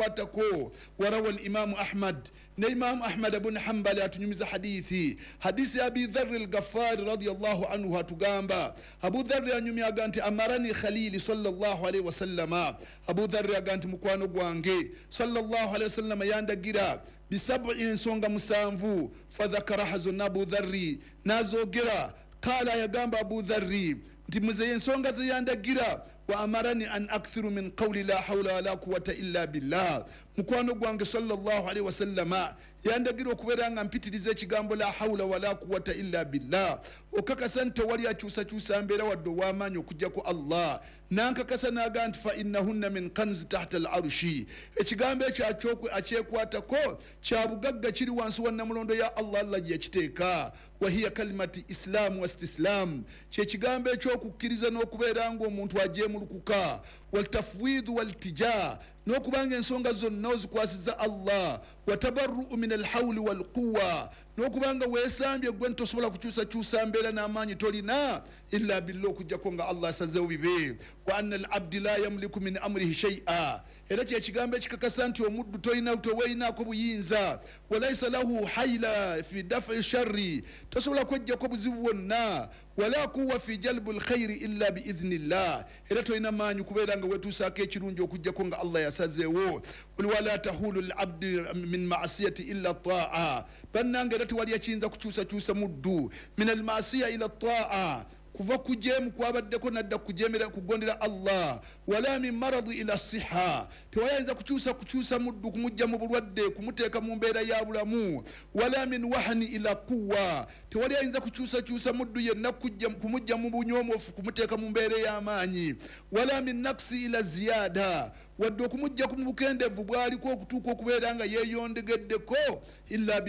akyekwatako. Warawa Alimamu Ahmad, ne Imamu Ahmad bun Hambali atunyumiza hadithi, hadisi ya Abi Dharri Lgafari radiallahu anhu. Atugamba Abu Dharri anyumyaga nti amarani khalili sallallahu alaihi wasallama, Abu Dharri aga nti mukwano gwange sallallahu alaihi wasallama yandagira bisabi, ensonga 7. Fadhakaraha, zonna Abu Dharri nazogera. Kala, yagamba Abu Dharri nti muze ensonga zeyandagira, wa amarani an akthiru min qawli la hawla wala quwata illa billah, mukwano gwange sallallahu alaihi wasallama yandagira okubeera nga mpitiriza ekigambo la hawla wala quwata illa billah, okakasa nti tewali akyusakyusa mbeera wadde ow'amaanyi okujjako Allah. Nankakasa naga nti fa innahunna min kanzi tahta al arshi, ekigambo ekyo akyekwatako kya bugagga kiri wansi wa namulondo ya Allah, Allah gye yakiteeka. Wahiya kalimati islamu wa istislamu, kyekigambo ekyokukkiriza n'okubeera ng'omuntu ajeemulukuka, waltafwidu waltija, n'okubanga ensonga zonna ozikwasiza Allah, watabarruu min alhawli walquwa, n'okubanga weesambye gwe ntosobola kukyusakyusa mbeera n'amaanyi tolina illa billah, okujjako nga Allah asazeewo bibe. Wa anna alabdi la yamliku min amrihi shay'a, era kyekigambo ekikakasa nti omuddu tolina, teweeyinaako buyinza. Walaisa lahu haila fi dafi sharri, tosobola kwejjako buzibu bwonna. Wala quwa fi jalbu lkhairi illa biidhnillah, era tolina maanyi kubeera nga wetuusaako ekirungi okujjako nga Allah yasazeewo. Wala tahulu labdi min maasiyati illa taa, bannange era tewali ekiyinza kukyusakyusa muddu min almasiya ila taa, kuva kujeemu kwabaddeko nadda kujemera kugondera Allah. Wala min maradi ila siha, tewayinza kukyusa muddu kumujja mu bulwadde kumuteeka mu mbeera ya bulamu. Wala min wahani ila quwa, tewali ayinza kukyusakyusa muddu yenna kumujja mu bunyoomofu kumuteeka mu mbeera ey'amaanyi. Wala min naksi ila ziyada, wadde okumujja ku bukendeevu bwaliko okutuuka okubeera nga yeeyondegeddeko, illa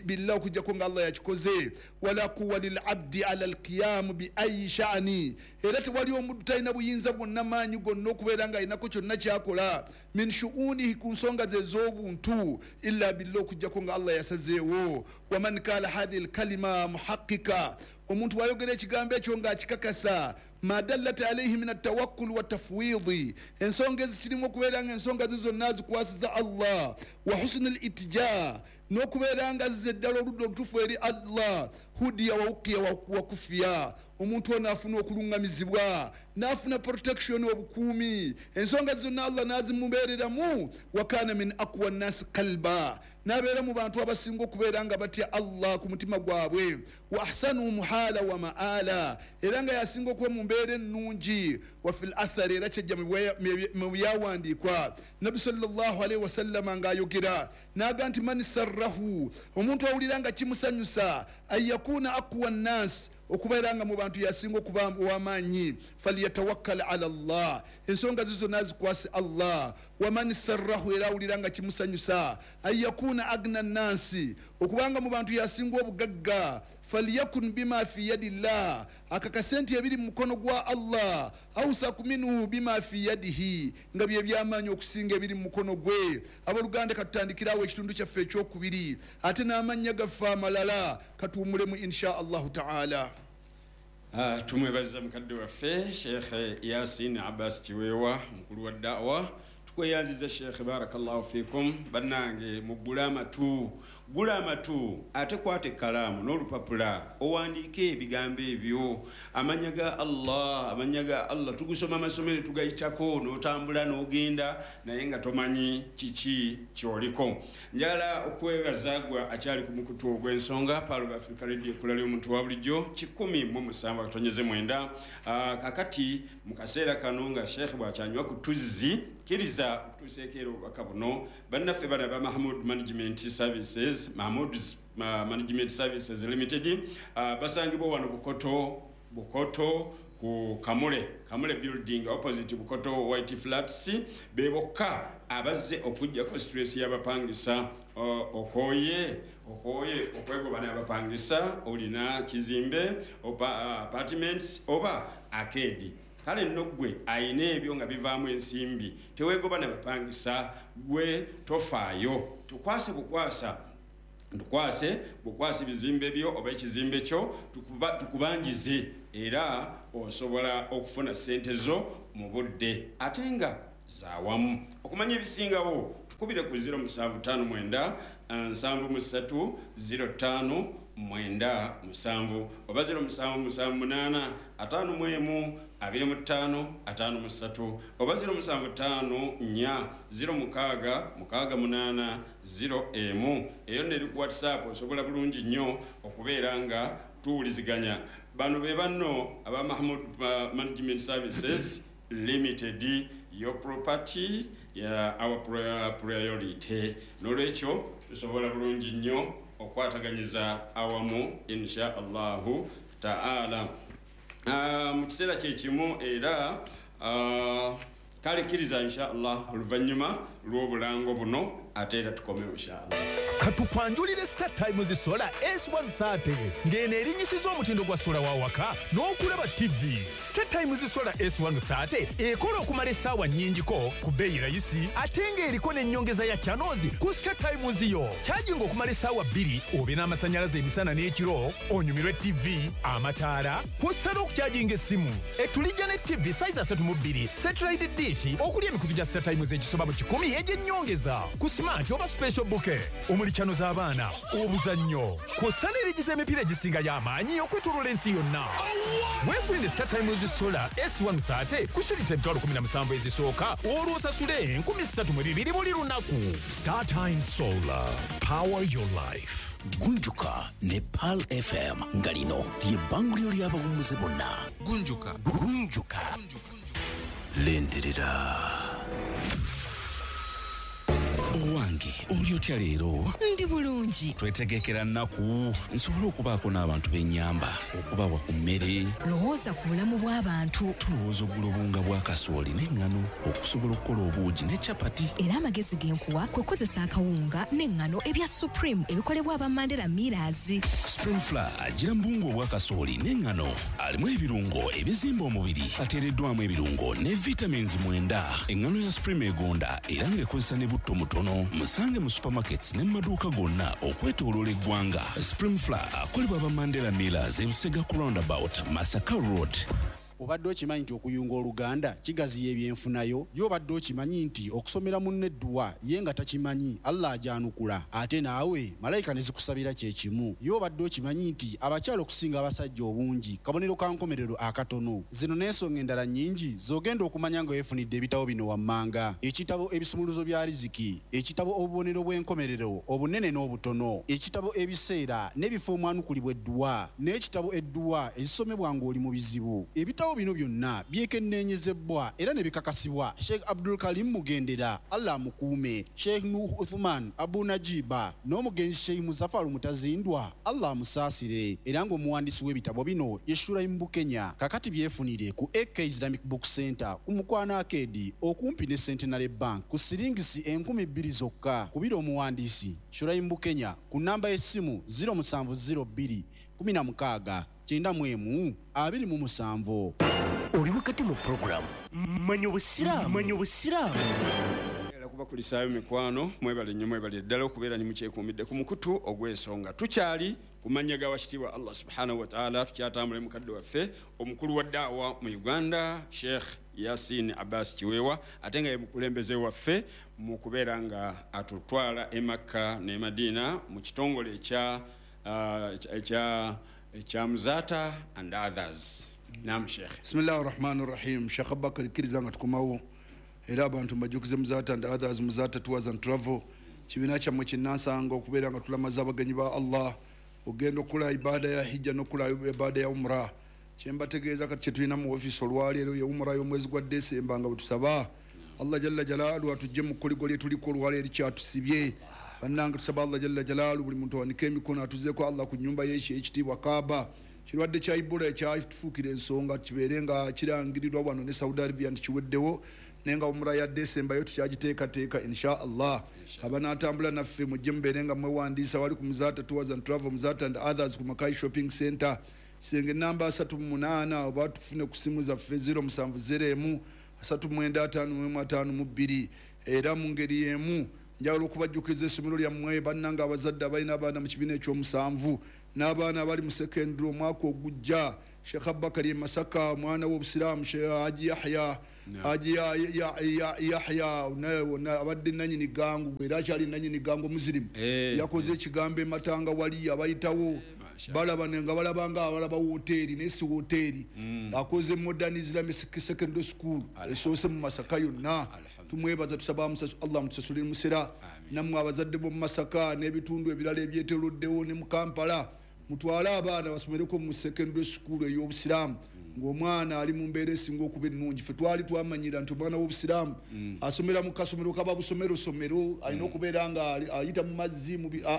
billah, okujjako nga Allah yakikoze. Wala quwa lilabdi ala alqiyamu bi ayi shani, era tewali omuddu talina buyinza bwonna, maanyi gonna okubeera nga alinako kyonna kyakola min shuunihi, ku nsonga ze ez'obuntu, illa billah, okujjako nga Allah yasazeewo. Waman kala hadhihi lkalima muhaqika, omuntu wayogera ekigambo ekyo ng'akikakasa, ma dallat alaihi min atawakkul wa tafwidi, ensonga ezikirimu okubeera nga ensonga ze zonna azikwasiza Allah, wa husni litija, n'okubeera nga azza eddala oludda olutuufu eri Allah, hudiya waukiya wakufiya, omuntu ono afuna okuluŋŋamizibwa n'afuna protection, obukuumi, ensonga zonna Allah n'azimubeereramu. Wakana min aqwa nnasi kalba, n'abeera mu bantu abasinga okubeera nga batya Allah ku mutima gwabwe. Wa ahsanu muhala wa maala, era nga yasinga okuba mu mbeera ennungi. Wa fi l athari, era kyejja mu byawandiikwa, Nabbi sallallahu alaihi wasallama ng'ayogera n'aga nti man sarrahu, omuntu awulira nga kimusanyusa, an yakuna aqwa nnasi, okubeera nga mu bantu yasinga okuba ow'amaanyi, falyatawakkal ala Allah, ensonga ze zonna azikwase Allah. Waman sarrahu, era awulira nga kimusanyusa, an yakuna agna nnansi, okubanga mu bantu yasinga obugagga, falyakun bima fi yadi llah, akakase nti ebiri mu mukono gwa Allah, authaku minhu bima fi yadihi, nga bye byamaanyi okusinga ebiri mu mukono gwe. Abooluganda, katutandikirawo ekitundu kyaffe ekyokubiri, ate n'amannya gaffe amalala katuwumulemu insha Allahu taala. Tumwebaza mukadde waffe Sheekh Yasin Abbas Kiweewa, mukulu wa daawa. Tukweyanziza Sheekh, barakallahu fikum. Bannange, muggule amatu, gula amatu, ate kwata ekkalaamu n'olupapula owandiike ebigambo ebyo, amanya ga Allah. Amanya ga Allah tugusoma amasomero, tugayitako n'otambula n'ogenda, naye nga tomanyi kiki kyoliko. Njagala okwebaza gwe akyali ku mukutu ogw'ensonga, Pearl of Africa Radio, ekkula ly'omuntu wa bulijjo, 107.9. Kakati mu kaseera kano nga Sheekh bw'akyanywa ku tuzzi, kkiriza okutuuseeko era obubaka buno. Bannaffe bano aba Mahmud Management Services, Mahmud Management Services Limited, basangibwa wano Bukoto, Bukoto ku Kamule, Kamule Building, opposite Bukoto White Flats. Be bokka abazze okugjako stress y'abapangisa. Okooye, okooye okwegoba n'abapangisa, olina kizimbe, apartments oba arcade, kale nno ggwe ayina ebyo nga bivaamu ensimbi, teweegoba nabapangisa. Gwe tofaayo, tukwase bukwasa, tukwase bukwasi bizimbe byo oba ekizimbe kyo, tukubanjize, era osobola okufuna sente zo mu budde ate nga zawamu. Okumanya ebisingawo, Tukubire ku 0759 73 05 97 oba 0778 51 25 53 oba 0754 06 68 0 eyo neri ku WhatsApp osobola bulungi nnyo okubeera nga tuwuliziganya. Bano be banno aba Mahmood Management Services Limited, your property ya our priority. Nolwekyo tusobola bulungi nnyo okwataganyiza awamu insha Allahu ta'ala. Mu kiseera kyekimu era kale kkiriza insha Allah oluvannyuma lw'obulango buno ate era tukomewo insha Allah. Katukwanjulire Star Times Solar S130 ng'eno erinnyisiza omutindo gwa sola wa waka n'okulaba TV. Star Times Solar S130 ekola okumala essaawa nnyingiko ku bbeeyi rayisi ate ng'eriko n'ennyongeza ya channels ku Star Times yo. Kyajinga okumala essaawa 2 obe n'amasannyalaze emisana n'ekiro, onyumirwe TV, amataala, kw'ossa n'okukyajinga essimu. Etulijja ne TV size 32, satellite dish okuli emikutu gya Star Times egisoba mu 100 egy'ennyongeza ku smart oba special bouquet omuli chano z'abaana, obuzannyo, kw'ossa n'erigiza emipiira egisinga y'amaanyi okwetooloola ensi yonna. Weefunire Star Times Solar S130 ku shilingi 17,000 ezisooka olwo osasule 3,200 buli lunaku. Star Times Solar, power your life. Gunjuka ne Pearl FM nga lino ly'ebbanguliro ly'abawummuze bonna. Gunjuka. Gunjuka. Lindirira. Owange, oli otya leero? Ndi bulungi. Twetegekera nnaku nsobole okubaako n'abantu b'ennyamba, okubawa ku mmere. Lowooza ku bulamu bw'abantu. Tulowooza ogula obuwunga bwa kasooli n'eŋŋano okusobola okukola obuugi ne capati. Era amagezi ge nkuwa kwe kukozesa akawunga n'eŋŋano ebya Supreme ebikolebwa aba Mandela Millers. Supreme Flour agira mu buwunga obwa kasooli n'eŋŋano, alimu ebirungo ebizimba omubiri, ateereddwamu ebirungo ne vitamins 9. Eŋŋano ya Supreme egonda era ng'ekozesa ne butto mutono. Musange mu supermarkets ne mu maduuka gonna okwetooloola eggwanga. Supreme Flour akolebwa aba Mandela Millers e Busega ku roundabout Masaka Road. Obadde okimanyi nti okuyunga oluganda kigaziya ebyenfunayo? Ye obadde okimanyi nti okusomera munno edduwa ye nga takimanyi Allah agyanukula, ate naawe malayika ne zikusabira kye kimu? Ye obadde okimanyi nti abakyala okusinga abasajja obungi kabonero ka nkomerero akatono? Zino n'ensonga endala nnyingi z'ogenda okumanya nga weefunidde ebitabo bino wammanga: ekitabo ebisumuluzo bya riziki, ekitabo obubonero bw'enkomerero obunene n'obutono, ekitabo ebiseera n'ebifo omwanukulibwa edduwa, n'ekitabo edduwa ezisomebwa ng'oli mu bizibu. Ebitabo bino byonna byekenneenyezebwa era ne bikakasibwa Sheikh Abdul Karim Mugendera, Allah amukuume, Sheikh Nuh Uthman Abu Najiba n'omugenzi Sheikh Muzaffar Mutazindwa, Allah amusaasire. Era ng'omuwandiisi w'ebitabo bino ye Shuraim Bukenya. Kakati byefunire ku AK Islamic Book Center ku Mukwano Arcade okumpi ne Centenary Bank ku siringisi 2,000 zokka. Kubira omuwandiisi Shuraim Bukenya ku namba y'essimu 0702 16 91 27. Oli wakati mu program Manya Obusiraamu. Manya Obusiraamu. Kubakulisaayo mikwano, mwebale nnyo, mwebale ddala okubeera ne mukyekuumidde ku mukutu ogw'ensonga. Tukyali ku mannya ga wakitiibwa Allah subhanahu wa ta'ala, tukyatambula mukadde waffe omukulu wa daawa mu Uganda Sheikh Yasin Abbas Kiweewa, ate nga ye mukulembeze waffe mu kubeera nga atutwala e Makka ne Madina mu kitongole ekya Muzata and others. Naam Sheikh. Bismillahir Rahmanir Rahim. Sheikh Abubakar kkiriza nga tukomawo era abantu mbajjukize Muzata and others, Muzata Tours and Travel, kibiina kyammwe kinnansanga okubeera nga tulamaza abagenyi ba Allah ogenda okukola ibaada ya hijja n'okukola ibaada ya umra. Kyembategeeza kati kye tulina mu ofiisi olwaleero ye umra y'omwezi gwa Desemba, nga bwe tusaba Allah jalla jalaalu atujje mu kkoligo lye tuliko olwaleero kyatusibye. Bannange tusaba Allah jalla jalaalu buli muntu awanike emikono atuzeeko Allah ku nnyumba ye ekitiibwa Kaaba. Kirwadde kya Ebola ekyatufuukira ensonga kibeere nga kirangirirwa wano ne Saudi Arabia nti kiweddewo, naye nga umra ya Desemba yo tukyagiteekateeka insha Allah. Abanaatambula naffe mujje mubeere nga mwewandiisa wali ku Muzata Tours and Travel, Muzata and others ku Makai Shopping Center, senge namba 38, oba tufune ku simu zaffe 0701 3951 52. Era mu ngeri y'emu njagala okubajjukiza essomero lyammwe bannange abazadde abalina abaana mu kibiina ekyomusanvu n'abaana abali mu secondary omwaka ogujja. Sheikh Abubakar e Masaka, omwana w'obusiraamu Sheikh Haji Yahya Haji Yahya naye abadde nanyini gangu era akyali nanyini gangu muzirimu yakoze ekigambo ematanga wali abayitawo balaba nga balabanga abalaba woteeri naye si woteeri akoze Modern Islamic Secondary School esoose mu Masaka yonna. Tumwebaza, tusaba Allah mutusasulire musera nammwe abazadde b'omu Masaka n'ebitundu ebirala ebyetooloddewo ne mu Kampala, mutwale abaana basomereko mu secondary school ey'obusiraamu ng'omwana ali mu mbeera esinga okuba ennungi. Ffe twali twamanyira nti omwana w'obusiraamu asomera mu kasomero kaba busomero somero, alina okubeera nga ayita mu mazzi,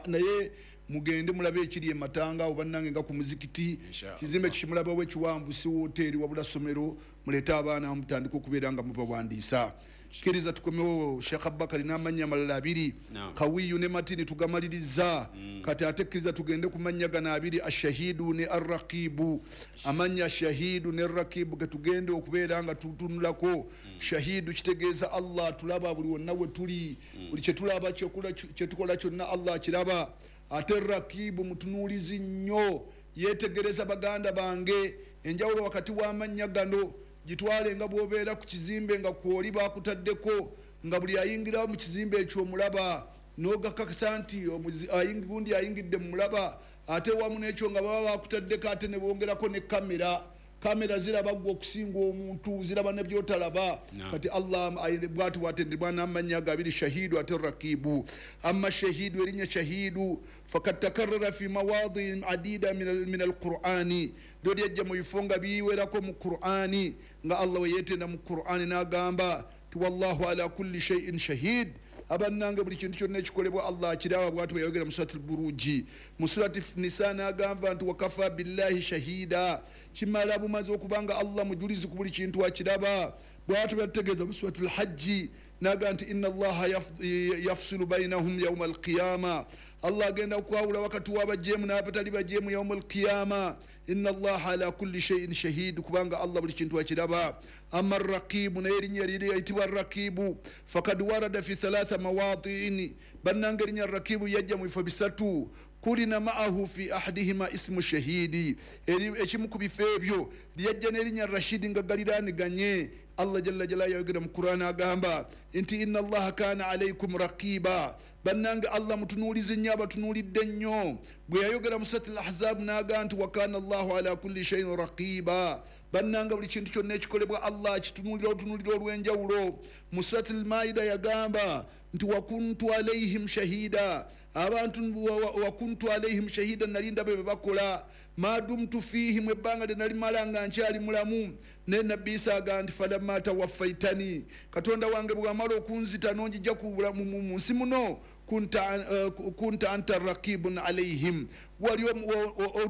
naye mugende mulabe ekiri ematanga oba nange nga ku muzikiti kizimbe kikimulabawo ekiwanvu si woteeri wabula somero, muleete abaana mutandike okubeera nga mubawandiisa. Kkiriza tukomewo Sheikh Abubakari n'amannya amalala abiri Kawiyu ne Matini tugamaliriza. Kati ate kkiriza tugende ku mannya gano abiri, Ashahidu ne Arrakibu. Amannya Ashahidu ne Arrakibu ge tugende okubeera nga tutunulako. Shahidu kitegeeza Allah tulaba buli wonna we tuli, buli kyetulaba kyetukola kyonna Allah akiraba. Ate Rakibu mutunuulizi nnyo, yeetegereza. Baganda bange, enjawulo wakati w'amannya gano gitwale nga bw'obeera ku kizimbe nga kwoli bakutaddeko nga buli ayingira mu kizimbe ekyo omulaba n'ogakakasa nti gundi ayingidde mu mulaba, ate wamu n'ekyo nga baba bakutaddeko ate ne bongerako ne kamera. Kamera ziraba gwe okusinga omuntu, ziraba ne byotalaba. Kati Allah bwati bwatendebwa n'amannya gabiri, Shahidu ate Rakibu. Amma Shahidu, erinnya Shahidu fakad takarrara fi mawadii adida min alqur'ani, lyo lyajja mu bifo nga biwerako mu Qur'ani, nga Allah weyeetenda mu Qur'ani n'agamba ti wallahu ala kulli shay'in shahid. Abannange buli kintu kyonna ekikolebwa Allah akiraba, bwati bwe yayogera mu surati Buruji. Mu surati Nisa n'agamba nti wakafa billahi shahida, kimala bumaze okubanga Allah mujulizi ku buli kintu akiraba. Bwati bwe yategeeza mu surati Alhajji n'agamba nti inna Allaha yafsilu bainahum yauma alqiyama, Allah agenda okwawula wakati w'abajeemu n'abatali bajeemu yauma alqiyama. Inna Allaha ala kulli shay'in shahid, kubanga Allah buli kintu akiraba. Amma Rakibu, naye erinnya liri yayitibwa Rakibu fakad warada fi thalatha mawatiin, bannange erinnya Rakibu yajja mu bifo bisatu. Kulina ma'ahu fi ahadihima ismu shahidi, ekimu ku bifo ebyo lyajja n'erinnya Rashidi nga galiraaniganye. Allah jalla jalaluhu yayogera mu Qur'an agamba nti inna Allaha kana alaykum raqiba, bannange Allah mutunuulizi nnyo, abatunuulidde nnyo. Bwe yayogera mu surati Al-Ahzab n'agamba nti wa kana Allahu ala kulli shay'in raqiba, bannange buli kintu kyonna ekikolebwa Allah akitunuulira otunuulira olw'enjawulo. Mu surati Al-Maida yagamba nti wakuntu alaihim shahida, abantu wakuntu alaihim shahida, nali ndaba bye bakola, madumtu fihim, ebbanga lye nalimala nga nkyali mulamu. Ne Nabbi Isa agamba nti falamma tawaffaitani, Katonda wange bw'amala okunzita n'onjija mu nsi muno, kunta anta raqibun alaihim, wali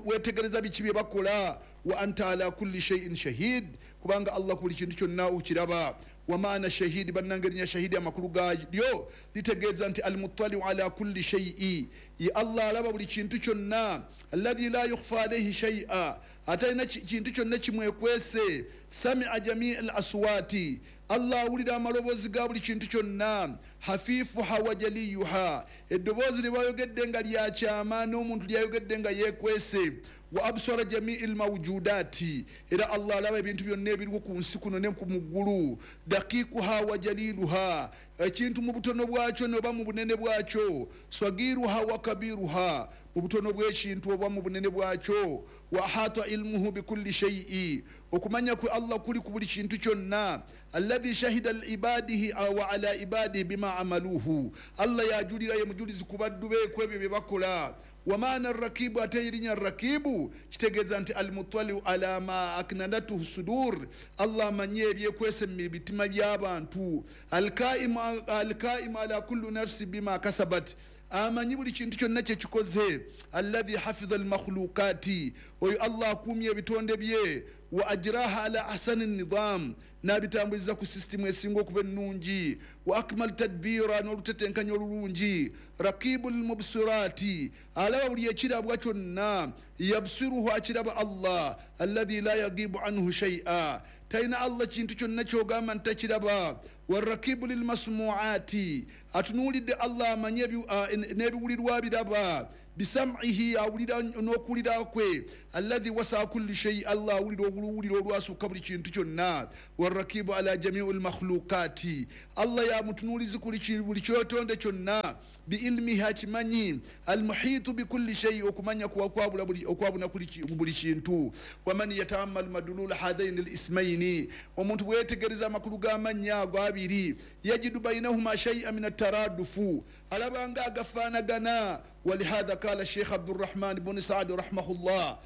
weetegereza biki bye bakola, wa anta ala kulli shay'in shahid, kubanga Allah ku buli kintu kyonna okiraba. Wa maana shahidi, bannange erinnya shahidi amakulu gaalyo litegeeza nti almutaliu ala kulli shay'i, ye Allah alaba buli kintu kyonna, alladhi la yukhfa alayhi shay'a, atalina kintu kyonna kimwekwese. Samia jamii al aswati, Allah awulira amaloboozi ga buli kintu kyonna. Hafifuha wa jaliyuha, eddoboozi lye bayogedde nga lyakyama n'omuntu lyayogedde nga yeekwese. Wa absara jamii lmawjudati, era Allah alaba ebintu byonna ebiriwo ku nsi kuno ne ku muggulu. Daqiquha wa jaliluha, ekintu mu butono bwakyo noba mu bunene bwakyo. Swagiruha wa kabiruha, mu butono bw'ekintu oba mu bunene bwakyo. Wa ahata ilmuhu bikulli shay'i, okumanya kwe Allah kuli ku buli kintu kyonna. Alladhi shahida liibadihi wa ala ibadihi bima amaluhu, Allah yajulira ye mujulizi ku baddu be ku ebyo bye bakola. Wamaana rakibu, ate erinnya rakibu kitegeeza nti almutaliu ala ma aknanatuhu sudur, Allah amanyi ebyekwese mu bitima by'abantu. Alkaimu ala kullu nafsi bima kasabat, amanyi buli kintu kyonna kyekikoze. Alladhi hafidha almakhluqati, oyo Allah akuumye ebitonde bye. Wa ajraha ala ahsani nidam, n'abitambuliza ku sisitimu esinga okuba ennungi. Wa akmal tadbira, n'olutetenkanya olulungi. Rakibu lmubsirati, alaba buli ekirabwa kyonna. Yabsiruhu, akiraba Allah. Alladhi la yagibu anhu shay'a, talina Allah kintu kyonna kyogamba nti takiraba. Warakibu lilmasmuati, atunuulidde Allah amanye n'ebiwulirwa biraba. Bisam'ihi, awulira n'okuwulira kwe. Alladhi wasaa kulli shay, Allah awulira obuluwulira olwasukka buli kintu kyonna. Warakibu ala jamiu lmakhluqati, Allah yamutunuulizi buli kyotonde kyonna. Biilmihi, akimanyi. Almuhitu bikulli shay, okumanya okwabuna buli kintu. Waman yataammal madulula hathaini lismaini, omuntu bweyetegereza amakulu g'amannya ago abiri, yajidu bainahuma shaia min ataradufu, alabanga agafaanagana. Walihadha kala Sheikh Abdurrahman buni Saadi rahimahullah.